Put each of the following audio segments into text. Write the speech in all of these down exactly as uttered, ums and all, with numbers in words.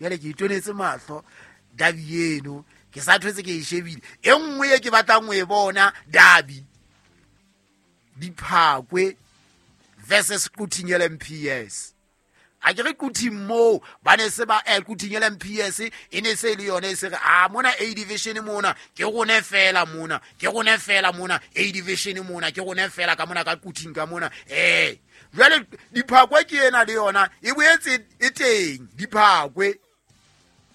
Jwale ke itonetse mahlo dabi eno ke sa thwetse ke e shebile. E nngwe e ke batlang ho e bona dabi Diphakwe versus Quthing L M P S. A ke re Quthing moo ba ne se ba eh Quthing L M P S e ne se le yone e se re a mona A division mona ke rone fela mona ke rone fela mona A division mona ke rone fela ka mona ka Quthing ka mona. Eh jwale Diphakwe ke ena le yona e boetse e teng Diphakwe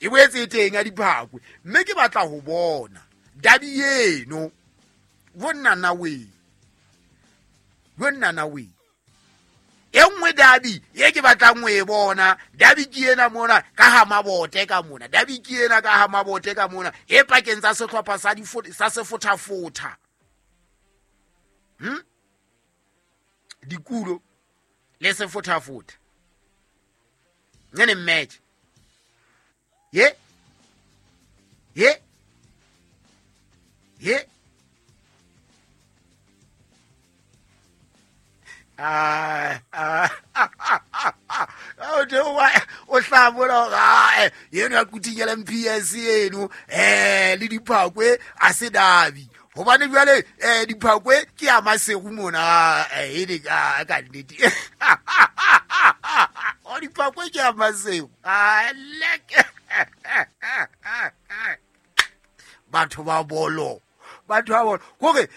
e boetse e teng ya Diphakwe mme ke batla ho bona dabi eno bonna na we bonna na we e nngwe dabi ye ke batlang ho e bona dabi ke ena mona ka ha mabote ka mona dabi ke ena ka ha mabote ka mona e pakeng tsa sehlopha sa di sa sefothafotha hm dikulo le sefothafotha ngene match ye ye ye ah ah ah o hlabola ga yeno ya Quthing L M P S eno eh le Diphakwe a se dabi hobane jwale eh Diphakwe ke ya Masego mona eh e ka ka nnete o Diphakwe ke ya Masego a leke batho ba bolo batho ba bolo hore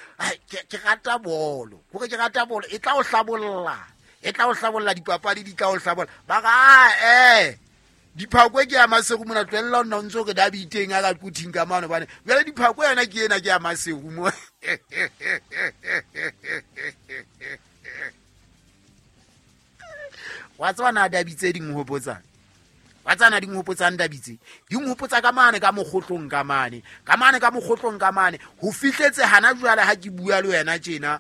ke rata bolo hore ke rata bolo e tla o hlabolla e tla o hlabolla dipapadi di tla o hlabolla ba ga eh Diphakwe ke ya Masego mona tlwella nna ntse re dabi teng a ka Quthing ka mano bane jwale Diphakwe yona ke ena ke ya Masego mo wa tswa na dabi tse ding hopotsang wa tsana di nhopotsang dabitse di nhopotsa ka mane ka mokgotlong ka mane ka mane ka mokgotlong ka mane ho fihletse hana jwale ha ke bua le wena tjena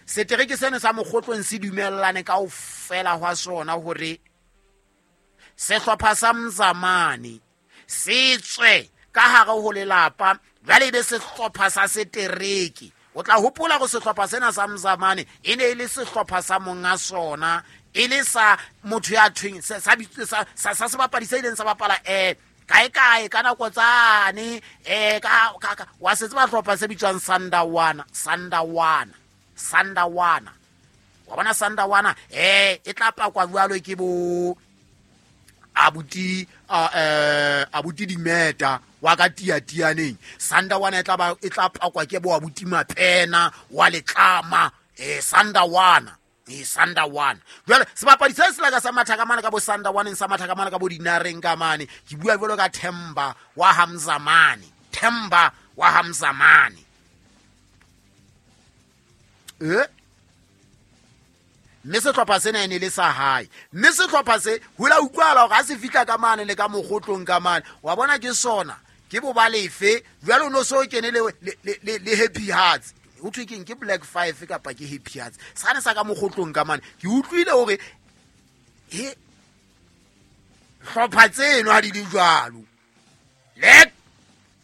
setereke seno sa mokgotlong se dumellane kaofela hwa sona hore sehlopha sa Mzamane se tswe ka hare ho lelapa jwale be sehlopha sa setereke. O tla hopola go sehlopha sena sa Mzamane e ne e le sehlopha sa monga sona e le sa motho ya thweng sa sa sa sebapadi se ileng sa bapala eh kae kae ka nako tsane eh ka ka wa se tseba hlopha se bitswang Sandawana Sandawana Sandawana wa bona Sandawana eh e tla pakwa jwalo ke bo abuti eh abuti Dimeta wa ka tia tianeng Sandawana e tla ba e tla pakwa ke bo abuti Mapena wa letlama eh Sandawana e Sandawana jwale sebapadi se se laka sa mathaka mane ka bo Sandawaneng sa mathaka mane ka bo Dinareng ka mane ke bua jwalo ka Themba wa Hamzamane Themba wa Hamzamane eh mme sehlopha sena e ne le sa hae mme sehlopha se ho la utlwala hore ha se fihla ka mane le ka mokgotlong ka mane wa bona ke sona ke bo ba lefe jwale o no so kene le le le Happy Hearts ho thwe keng ke Black Five kapa ke Happy Hearts sane sa ka mokgotlong ka mane ke utlwile hore he hlopha tseno ha di le jwalo le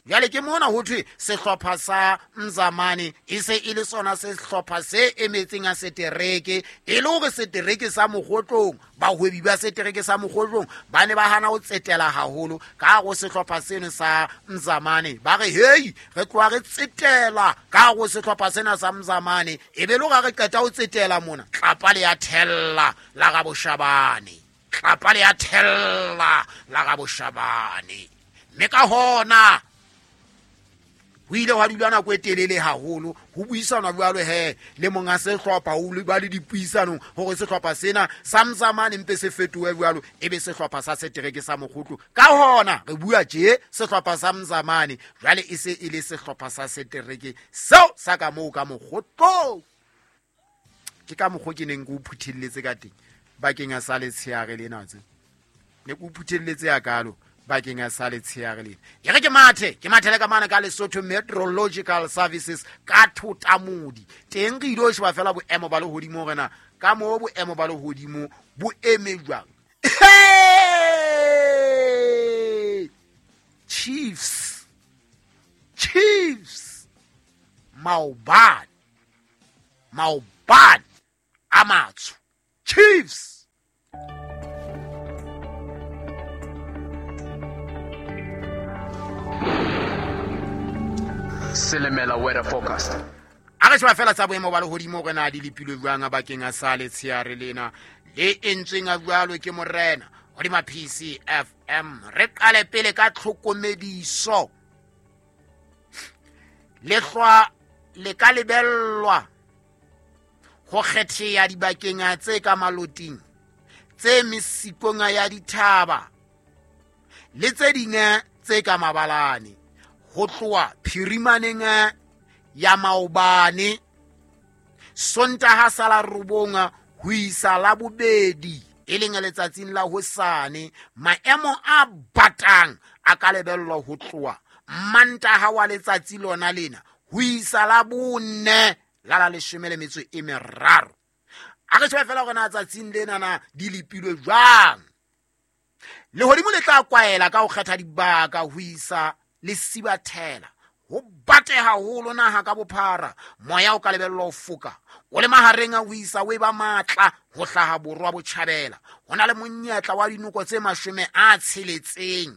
jwale ke mona ho thwe sehlopha sa Mzamane e se e le sona sehlopha se emetseng a setereke e le hore setereke sa mokgotlong bahwebi ba setereke sa mokgotlong ba ne ba hana ho tsetela haholo ka go sehlopha seno sa Mzamane ba re hei re tloha re tsetela ka go sehlopha sena sa Mzamane e be le hore re qeta ho tsetela mona tlapa le ya thella la ga Boshabane tlapa le ya thella la ga Boshabane mme ka hona ho ile hwa dula nako e telele haholo ho buisanwa jwalo he le monga sehlopha o le ba le dipuisanong hore sehlopha sena sa Mzamane mpe se fetohe jwalo e be sehlopha sa setereke sa mokgotlo ka hona re bua tje sehlopha sa Mzamane jwale e se e le sehlopha sa setereke seo sa ka moo ka mokgotlo ke ka mokgo ke neng ke o phuthelletse ka teng bakeng a sa letsheare lena tse ne ke o phuthelletse ya kalo bakeng a sa letsheare lena e re ke mathe ke mathele ka mane ka Lesotho Meteorological Services ka Thotamodi teng re ile sheba fela boemo ba lehodimo rena ka mo boemo ba lehodimo bo eme jwang. Chiefs Chiefs maobane maobane a matsho Chiefs. Silimela weather forecast. A re sheba fela tsa boemo ba lehodimo hore na di lepilwe jwang bakeng a sa letsheare lena le entsweng a jwalo ke morena hodima P C F M. Re qale pele ka tlhokomediso. Lehlwa le ka lebellwa ho kgetheha dibakeng tse ka maloting, tse mesikong ya dithaba le tse ding tse ka mabalane, ho tloha phirimaneng ya maobane Sontaha sa la robong ho isa la bobedi, e leng letsatsing la hosane. Maemo a batang a ka lebellwa ho tloha Mantaha wa letsatsi lona lena ho isa la bone la la leshome le metso e meraro. A re shebe fela hore na tsatsing lena na di lepilwe jwang. Lehodimo le tla kwaela ka ho kgetha dibaka ho isa le sibathela. Ho bate haholo naha ka bophara. Moya o ka lebellwa ho foka o le mahareng a ho isa o eba matla ho hlaha borwa botjhabela. Ho na le monyetla wa dinoko tse mashome a tsheletseng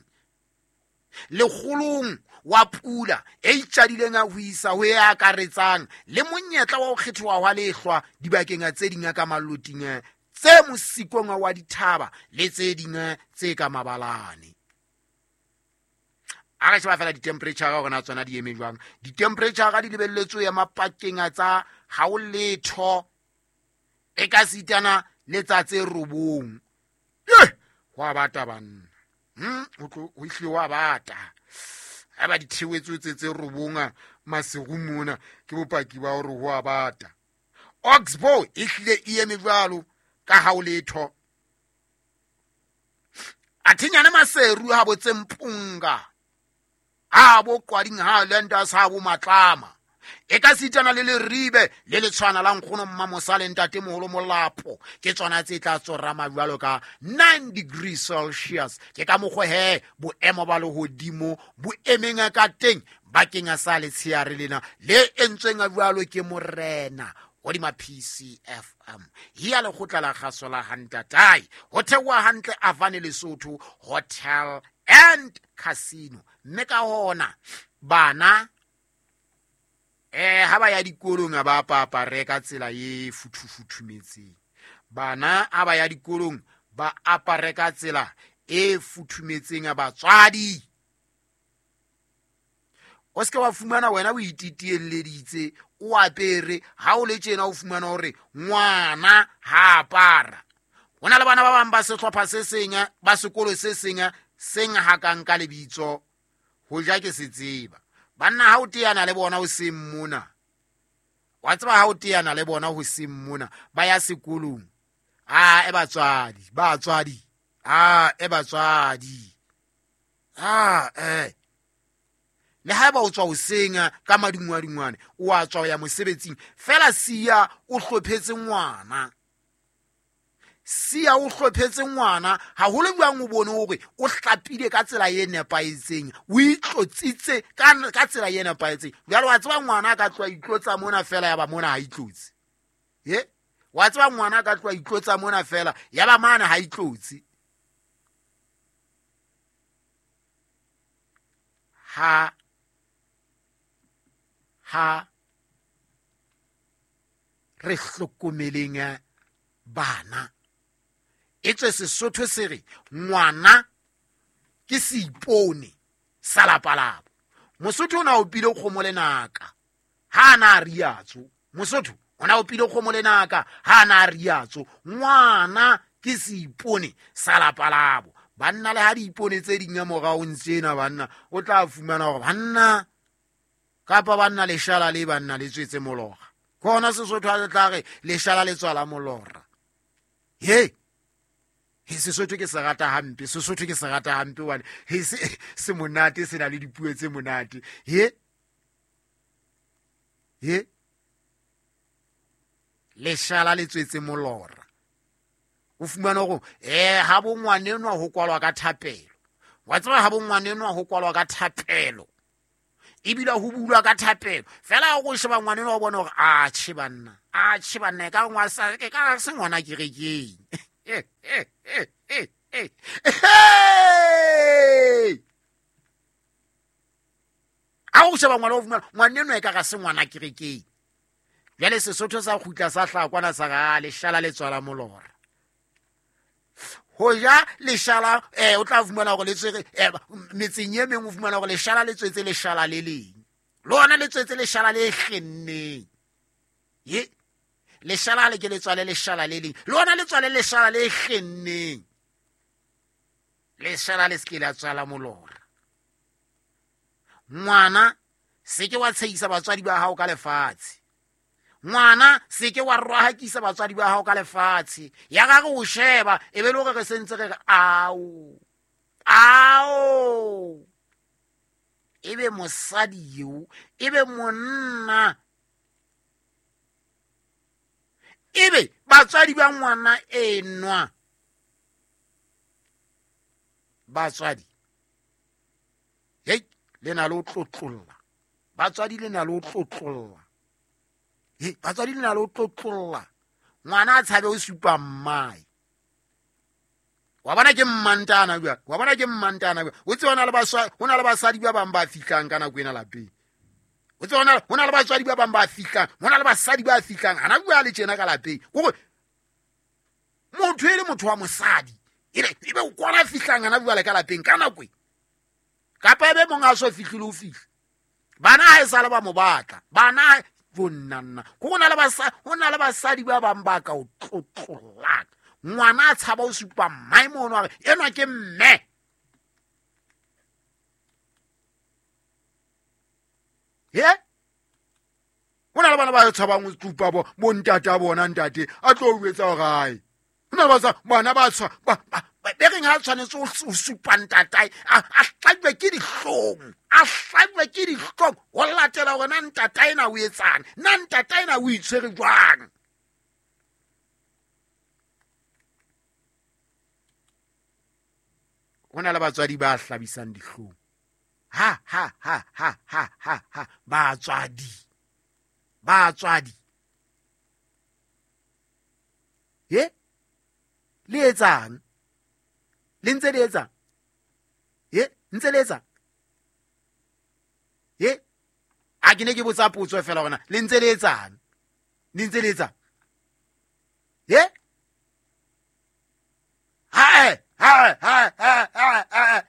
lekgolong wa pula e itjadileng a ho isa ho e akaretsang, le monyetla wa ho kgethiwa hwa lehlwa dibakeng tse ding ka maloting tse mosikong wa dithaba le tse ding tse ka mabalane. A re sheba fela di-temperature hore na tsona di eme jwang. Di-temperature di lebelletswe ya mapakeng tsa ha o letho e ka sitana le tsa tse robong. Eh, ho a bata banna. Hmm, ho tlo ho ihle wa bata. Ha ba dithewetswe tse tse robong masiu mona ke bopaki ba hore ho a bata. Oxbow e hlile e eme jwalo ka ha o letho. Athinyane Maseru ha bo tse Mpunga, ha bo Qwading, ha Landers, ha bo Matlama. E ka sitana le Leribe le letshwana la nkgono Mmamosa le ntatemoholo Molapo, ke tsona tse tla tsorama jwalo ka nine degrees Celsius. Ke ka mokgwa he boemo ba lehodimo bo emeng ka teng bakeng sa letsheare lena le entsweng jwalo ke morena hodima P C F M. Hiya lekgotla la kgaso la Hantatai, ho theoha hantle Avane Lesotho Hotel and Casino. Mme ka hona bana eh ha ba ya dikolong ba apare ka tsela e futhufuthumetseng. Bana ha ba ya dikolong ba apare ka tsela e futhumetseng. Batswadi, o se ke wa fumana wena o ititielleditse o apere, ha o le tjena o fumana hore ngwana ha apara. Ho na le bana ba bang ba sehlopha se seng ba sekolo se seng seng hakang ka lebitso ho ja ke se tseba. Banna ha o teana le bona ho seng mona, wa tseba ha o teana le bona ho seng mona ba ya sekolong. Ah, e batswadi, batswadi, ah, e batswadi, ah, eh. Le ha ba o tswa hoseng ka madungwadungwane, o a tswa ho ya mosebetsing fela, siya o hlophetse ngwana, siya o hlophetse ngwana haholo jwang o bone hore o hlapile ka tsela e nepahetseng, o itlotsitse ka ka tsela e nepahetseng. Jwale wa tseba ngwana a ka tloha itlotsa mona fela ya ba mona ha itlotse. Ye wa tseba ngwana a ka tloha itlotsa mona fela ya ba mane ha itlotse. Ha ha re hlokomeleng bana. Etswe Sesotho se re ngwana ke seipone sa lapa labo. Mosotho o na opile kgomo lenaka ha na riatso. Mosotho o na opile kgomo lenaka ha na riatso. Ngwana ke seipone sa lapa labo. Banna le ha diipone tse ding morao ntsena banna, o tla fumana hore banna kapa banna leshala le banna le tswetse molora. Ke hona Sesotho ha se tla re leshala le tswala molora. He he Sesotho ke se rata hampe, Sesotho ke se rata hampe hobane he se se monate, se na le dipuo tse monate. He he leshala le tswetse molora. O fumana hore eh ha bo ngwanenwa ho kwalwa ka thapelo. Wa tseba ha bo ngwanenwa ho kwalwa ka thapelo, ebile ho bulwa ka thapelo. Fela o sheba ngwanenwa o bona hore a tjhe banna, a tjhe banna e ka ngwa sa ke ka se ngwana kerekeng. A o sheba ngwana o fumana ngwana eno e ka ga se ngwana kerekeng. Jwale Sesotho sa kgutla sa hlaha kwana sa ga leshala le tswala molora. Ho ja leshala eh o tla fumana hore le tswere metseng e meng o fumana hore leshala le tswetse leshala le leng. Lona le tswetse leshala le kgenneng. Ye leshala le ke le tswale leshala le leng. Lona le tswale leshala le kgenneng. Leshala le se la tswala molora. Ngwana se ke wa tshehisa batswadi ba hao ka lefatshe. Ngwana se ke wa rohakisa batswadi ba hao ka lefatshe. Ya ga re o sheba e be le hore re sentse re re ao. Ao. Ebe mosadi eo, ebe monna. Ebe batswadi ba ngwana enwa. Batswadi. Hei, le na le o tlotlolla. Batswadi le na le o tlotlolla. He, batswadi le na le o tlotlolla. Ngwana a tshabe o supa mmae. Wa bona ke mmantana bua. Wa bona ke mmantana bua. O tseba hona le baswa, hona le basadi ba bang ba fihlang ka nako ena lapeng. O tseba hona, hona le batswadi ba bang ba fihlang, hona le basadi ba fihlang. Hana bua le tjena ka lapeng. Hore motho e le motho wa mosadi, ebe ebe o kwana fihlang hana bua le ka lapeng ka nako e. Kapa ebe mong a so fihlile o fihla. Bana ha e sale ba mo batla. Bana bonnanna. Go na le basadi, ho na le basadi ba bang ba ka o tlotlolang. Ngwana a tshaba o supa mmae mono a re enwa ke mme. He? Ho na le bana ba tshabang ho supa bo bo ntata bona ntate a tlo o etsa hore ae. Ho na le ba bana ba tshwa ba be reng ha tshwanetse o supa ntatae a hlajwe ke dihlong, a hlajwe ke dihlong ho latela hore na ntatae na o etsang, na ntatae na o itshwere jwang. Ho na le batswadi ba hlabisang dihlong. Ha ha ha ha ha ha ha batswadi. Batswadi. Ye? Le etsang? Le ntse le etsang? Ye? Ntse le etsang? Ye? A ke ne ke botsa potso fela hore na le ntse le etsang? Le ntse le etsang? Ye? Ha ha ha ha ha ha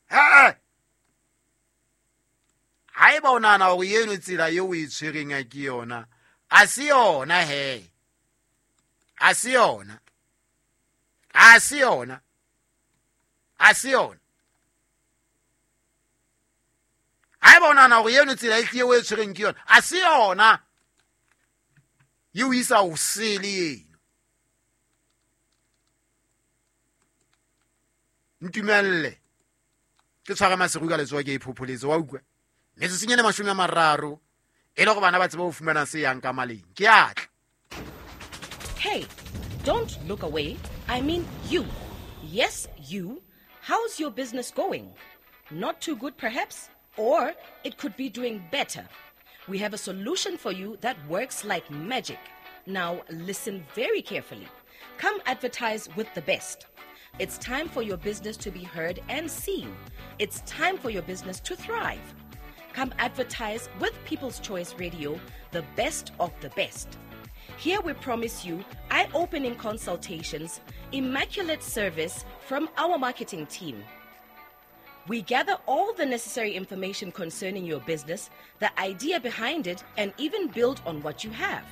ha. Haeba o nahana hore eno tsela eo o e tshwereng a ke yona, a se yona he. A se yona. A se yona. A se yona. Haeba o nahana hore eno tsela e hlile o e tshwereng ke yona, a se yona. E o isa ho sele eno. Ntumelle ke tshware maseru ka letsoho ke iphopholetse wa utlwa. Metsotsong e mashome a mararo e le hore bana ba tsebe ho fumana se yang ka maleng. Ke atla. Hey, don't look away. I mean you. Yes, you. How's your business going? Not too good perhaps, or it could be doing better. We have a solution for you that works like magic. Now listen very carefully. Come advertise with the best. It's time for your business to be heard and seen. It's time for your business to thrive. Come advertise with People's Choice Radio, the best of the best. Here we promise you eye-opening consultations, immaculate service from our marketing team. We gather all the necessary information concerning your business, the idea behind it, and even build on what you have.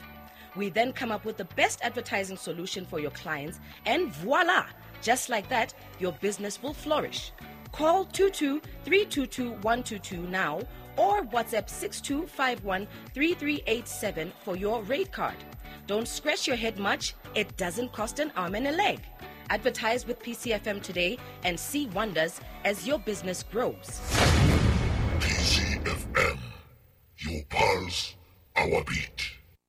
We then come up with the best advertising solution for your clients, and voila! Just like that, your business will flourish. Call two two three two two one two two now or WhatsApp six two five one three three eight seven for your rate card. Don't scratch your head much. It doesn't cost an arm and a leg. Advertise with P C F M today and see wonders as your business grows. P C F M, your pulse, our beat.